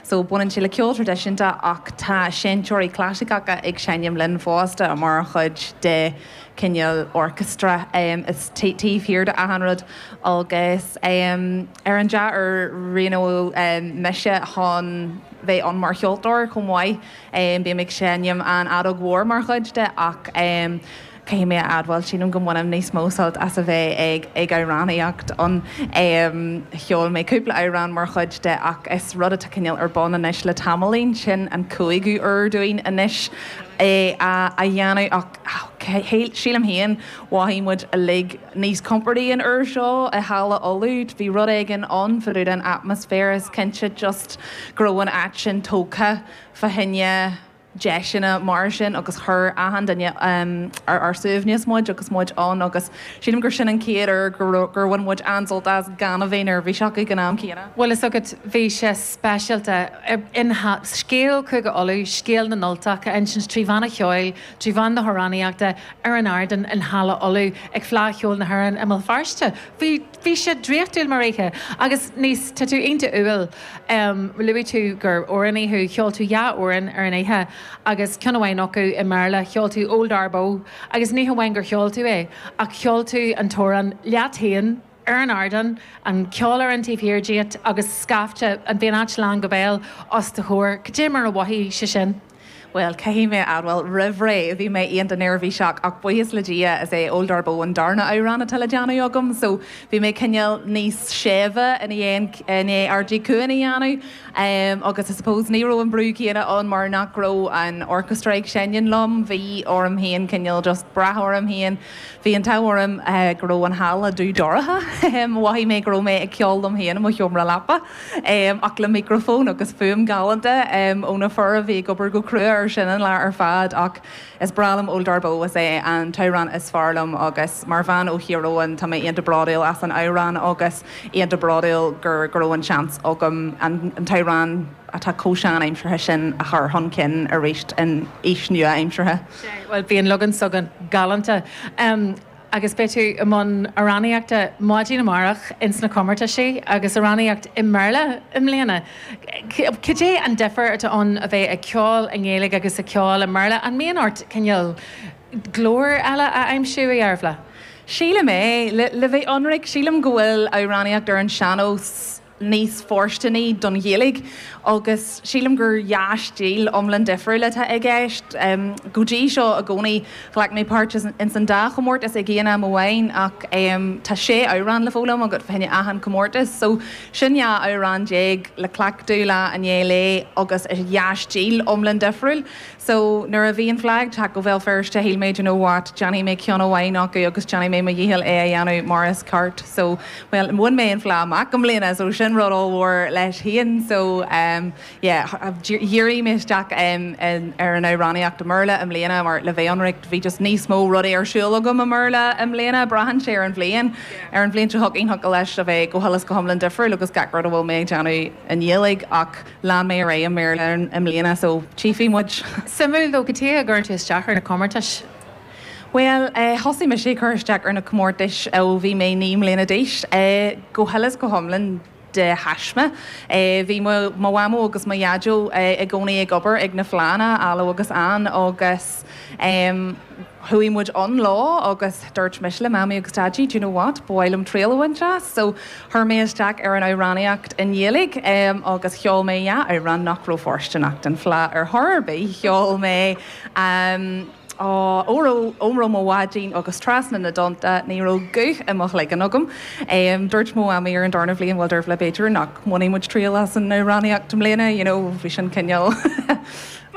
So baineann sé le ceol traidisiúnta ach tá seinnteoirí clasaiceacha ag seinm linn fosta mar chuid de cineál orchestra is taobh thiar de achan rud agus ar an dea-uair roghnaíodh mise chun bheith ann mar cheoltóir chomh maith. Bím ag seinm an fheadóg mhór mar chuid de ach caithfidh mé a admháil, sílim go mbainim níos mó sult as a bheith ag ag amhránaíocht ann. Cheol mé cúpla amhrán mar chuid de ach is rud atá cineál ar bun anois le tamaillín, sin an cúigiú uair dúinn anois é a dhéanamh ach sílim féin mhothaigh muid uilig níos compordaí an uair seo i Halla Uladh. Bhí rud éigin ann fá dtaobh den atmaisféar is cinnte just go raibh an áit sin tógtha fá choinne deiseanna mar sin agus chuir achan duine ar ár suaimhneas muid agus muid ann agus sílim gur sin an chéad uair gur bhain muid an-sult as gan a bheith neirbhíseach ag an am céanna. Bhuel fhios agat, bhí sé speisialta. Scéal Chúige Uladh, scéal na nUltach a insint trí mheán an cheoil, trí mheán na hamhránaíochta ar an ardán in Halla Uladh ag Fleadh Cheoil na hÉireann i mBéal Feirste. Bhí Bhí sé draíochtúil mar oíche. Agus níos, tá tú iontach umhal. Luaigh tú gur amhránaí thú, cheol tú dhá amhrán ar an oíche agus ceann amháin acu i mBéarla, cheol tú Old Darboe agus ní hamháin gur cheol tú é ach cheol tú an t-amhrán leat féin ar an ardán, an ceol ar an taobh thiar díot agus scaifte, bhí an áit lán go béal os do chomhair. Cad é mar a mhothaigh sé sin? Bhuel, caithfidh mé a admháil, roimh ré, bhí mé iontach neirbhíseach ach buíochas le Dia, is é Old Darboe an darna amhrán atá le déanamh agam so bhí mé cineál níos séimhe i ndiaidh i ndiaidh Ardaigh Cuan a dhéanamh agus I suppose ní raibh an brú céanna ann mar nach raibh an orchestra ag seinm liom, bhí orm féin cineál just brath orm féin. Bhí an t-ádh orm go raibh an halla dubh dorcha, mhothaigh mé go raibh mé ag ceol liom féin i mo sheomra leapa. Ach le micreafón agus fuaim galánta ó na fir a bhí ag obair go crua ar sin an lá ar fad. Ach is breá liom Old Darboe, is é an t-amhrán is fearr liom agus mar bhean ó Thír Eoghain tá mé iontach bródúil as an amhrán agus iontach bródúil gur go raibh an seans agam an t-amhrán atá chomh sean-aimseartha sin a chur chun cinn arís in aois nua-aimseartha. Bhuel, bhí an leagan s'againn galánta. Agus beidh tú i mbun amhránaíochta maidin amárach ins na comórtaisí agus amhránaíocht i mBéarla i mbliana. Cad é an difear atá ann a bheith ag ceol i nGaeilge agus ag ceol i mBéarla? An mbíonn ort cineál glór eile a aimsiú, a Dhearbhla? Sílim é. Le bheith ionraic, sílim go bhfuil amhránaíocht ar an sean-nós níos fóirsteanaí don Ghaeilge agus sílim gur dhá stíl iomlán difriúil atá i gceist. Go dtí seo i gcónaí ghlac mé páirt ins an dá chomórtas ag aon am amháin ach tá sé amhrán le foghlaim agat fá choinne achan comórtas so sin 12 amhrán le cleachtadh lá i ndiaidh lae agus i dhá stíl iomlán difriúil. So, nuair a bhí an Fleadh ag teacht go Bhéal Feirste, shíl mé, do you know what, déanfaidh mé ceann amháin acu agus déanfaidh mé mo dhícheall é a dhéanamh mar is ceart. So, bhuel, bhain mé an Fleadh amach i mbliana, so sin rud ollmhór leis féin. So, em, yeah, dhírigh mé isteach, em, ar an amhránaíocht i mBéarla i mbliana mar le bheith ionraic, bhí just níos mó rudaí ar siúl agam i mBéarla i mbliana, braitheann sé ar an bhliain. Ar an bhliain seo chugainn, thiocfadh leis a bheith go huile is go hiomlán difriúil agus gach rud a bhfuil mé ag déanamh i nGaeilge ach, Lean mé ar aghaidh i mBéarla i mbliana so tchífidh muid. Suimiúil though, cad chuige a gcuireann tú isteach ar na comórtais? Bhuel, thosaigh mise ag cur isteach ar na comórtais ó bhí mé 9 mbliana d'aois, go huile is go hiomlán de thaisme. Bhí mo mhamó agus mo dhaideo i gcónaí ag obair ag na fleánna, Alo agus Ann, agus Chuaigh muid ann lá agus dúirt mise le Mamaí agus Daidí, do you know what, ba mhaith liom triail a bhaint as. So chuir mé isteach ar an amhránaíocht i nGaeilge agus cheol mé dhá amhrán nach raibh fóirsteanach don Fhleadh ar chor ar bith. Cheol mé Óró Óró Mo Bháidín agus Trasna na dTonnta. Ní raibh guth i mo chloigeann agam. Dúirt mo mhamaí ar an darna bhliain, bhuel Dervla, b'fhéidir nach mbainfidh muid triail as an amhránaíocht i mbliana, you know, bhí sin cineál.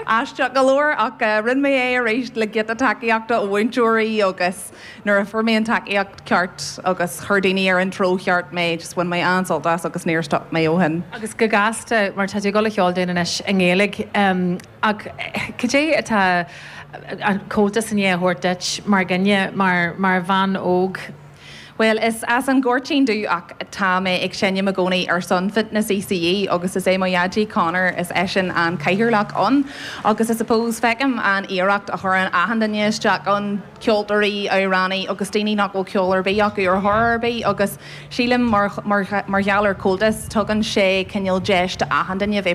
Aisteach go leor, ach rinne mé é arís le giota tacaíochta ó mhúinteoirí agus nuair a fuair mé an tacaíocht ceart agus chuir daoine ar an treo cheart mé, just bhain mé an-sult as agus níor stop mé ó shin. Agus go gasta, mar tá tú ag dul a cheol dúinn anois i nGaeilge, ach cad é atá an Comhaltas i ndiaidh a thabhairt duit mar dhuine, mar bhean óg? Bhuel, is as an Ghoirtín domh ach tá mé ag seinm i gcónaí ar son Fitness ECE agus is é mo dhaidí Conor, is eisean an cathaoirleach ann agus I suppose feicim an iarracht a chuireann achan duine isteach ann, ceoltóirí, amhránaí agus daoine nach bhfuil ceol ar bith acu ar chor ar bith agus sílim mar mar gheall ar Comhaltas tugann sé cineál deis do achan duine bheith.